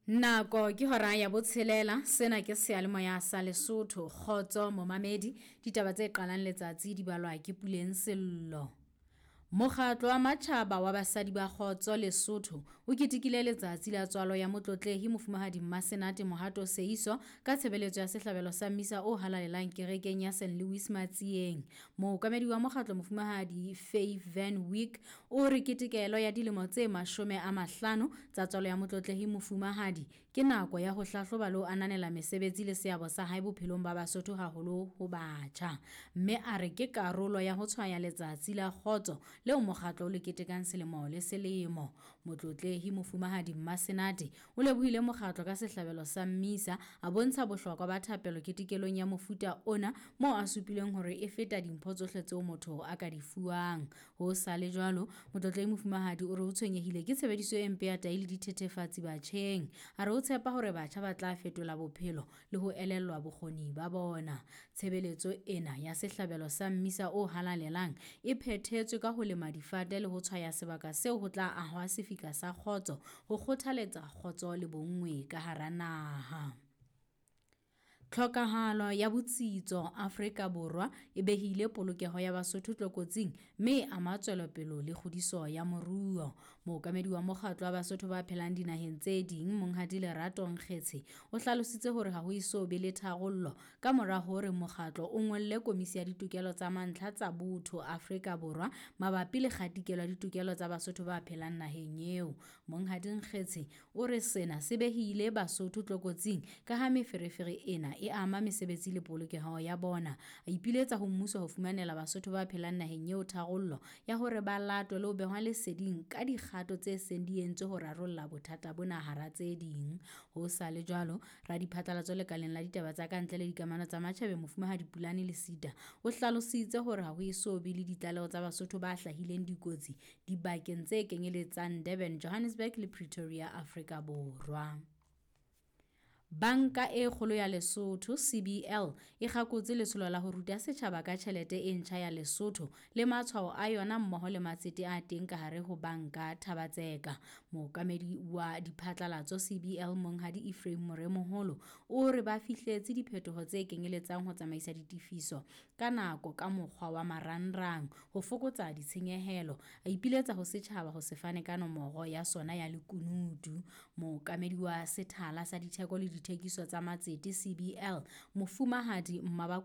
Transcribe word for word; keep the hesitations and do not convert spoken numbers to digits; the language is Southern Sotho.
Nako ke hora ya botshelela, sena ke seyalemoya sa Lesotho. Kgotso momamedi, ditaba tse qalang letsatsi di balwa ke Puleng Sello. Mokgatlo wa Matjhaba wa Basadi ba Kgotso Lesotho o ketekile letsatsi la tswalo ya Motlotlehi Mofumahadi Mmasenate Mohato Seiso ka tshebeletso ya sehlabelo sa Mmisa o halalelang kerekeng ya Saint Louis Matsieng. Mookamedi wa mokgatlo Mofumahadi Faye Van Wyk o re ketekelo ya dilemo tse mashome a mahlano tsa tswalo ya Motlotlehi Mofumahadi ke nako ya ho hlahloba le ho ananela mesebetsi le seabo sa hae bophelong ba Basotho haholo ho batjha. Mme a re ke karolo ya ho tshwaya letsatsi la kgotso leo mokgatlo o le ketekang selemo le selemo. Motlotlehi Mofumahadi Mmasenate o lebohile mokgatlo ka sehlabelo sa Mmisa, a bontsha bohlokwa ba thapelo ketekelong ya mofuta ona moo a supileng hore e feta dimpho tsohle tseo motho a ka di fuwang. Ho sa le jwalo, Motlotlehi Mofumahadi o re o tshwenyehile ke tshebediso e mpe ya tahi le dithethefatsi batjheng. A re o tshepa hore batjha ba tla fetola bophelo le ho elellwa bokgoni ba bona. Tshebeletso ena ya sehlabelo sa Mmisa o halalelang e phethetswe ka ho lema difate le ho tshwaya sebaka seo ho tla ahwa sefika sa kgotso ho kgothaletsa kgotso le bonngwe ka hara naha. Tlhokahalo ya botsitso Afrika Borwa e behile polokeho ya Basotho tlokotsing mme e ama tswelopele le kgodiso ya moruo. Mookamedi wa mokgatlo wa Basotho ba phelang dinaheng tse ding Monghadi Lerato Nkgetshe o hlalositse hore ha ho eso be le tharollo ka mora hore mokgatlo o ngolle Komisi ya Ditokelo tsa Mantlha tsa Botho Afrika Borwa mabapi le kgatikelo ya ditokelo tsa Basotho ba phelang naheng eo. Monghadi Nkgetshe o re sena se behile Basotho tlokotsing ka ha meferefere ena e ama mesebetsi le polokeho ya bona. A ipiletsa ho mmuso ho fumanela Basotho ba phelang naheng eo tharollo ya hore ba latwe le ho behwa leseding ka dikgato tse seng di entswe ho rarolla bothata bona hara tse ding. Ho sa le jwalo, radiphatlalatso lekaleng la ditaba tsa kantle le dikamano tsa matjhabeng Mofumahadi Pulane Lesita o hlalositse hore ha ho eso be le ditlaleho tsa Basotho ba hlahileng dikotsi dibakeng tse kenyeletsang Durban, Johannesburg le Pretoria, Afrika Borwa. Banka e Kgolo ya Lesotho C B L e kgakotse letsholo la ho ruta setjhaba ka tjhelete e ntjha ya Lesotho le matshwao a yona mmoho le matsete a teng ka hare ho banka Thabatseka. Mookamedi wa diphatlalatso C B L Monghadi Ephraim Moremoholo o re ba fihletse diphetoho tse kenyeletsang ho tsamaisa ditefiso ka nako ka mokgwa wa marangrang ho fokotsa ditshenyehelo. A ipiletsa ho setjhaba ho se fane ka nomoro ya sona ya lekunutu. Mookamedi wa sethala sa ditheko le dithekiso tsa matsete C B L Mofumahadi Mmaba